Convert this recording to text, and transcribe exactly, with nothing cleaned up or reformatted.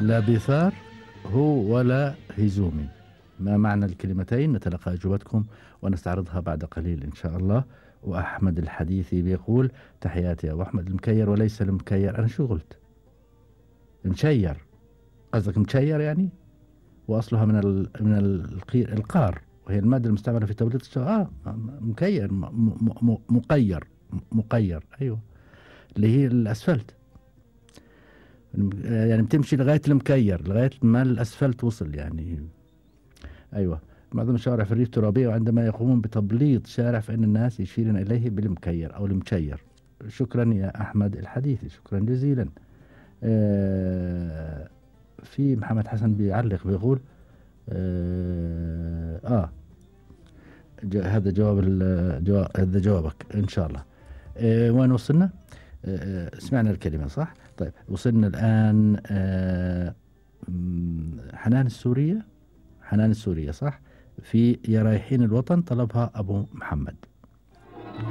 لا بيثار هو ولا هزومي. ما معنى الكلمتين؟ نتلقى أجوبتكم ونستعرضها بعد قليل إن شاء الله. وأحمد الحديثي بيقول تحياتي أبو أحمد المكير وليس المكير. أنا شو قلت؟ مشير، قصدك مشير يعني؟ وأصلها من ال من القير القار، وهي المادة المستعملة في توليد الشجر. آه مكير م م مقير مقير أيوه، اللي هي الأسفلت، يعني بتمشي لغاية المكير لغاية ما الأسفلت وصل يعني. أيوة، معظم الشوارع في الريف ترابية، وعندما يقومون بتبليط شارع فإن الناس يشيرون إليه بالمكير أو المشير. شكرا يا أحمد الحديثي، شكرا جزيلا. آه في محمد حسن بيعلق بيقول آه, آه هذا جواب الجواب، هذا جوابك إن شاء الله. آه وين وصلنا؟ آه سمعنا الكلمة صح؟ طيب وصلنا الآن آه حنان السورية، حنان السورية صح؟ في يا رايحين الوطن طلبها أبو محمد.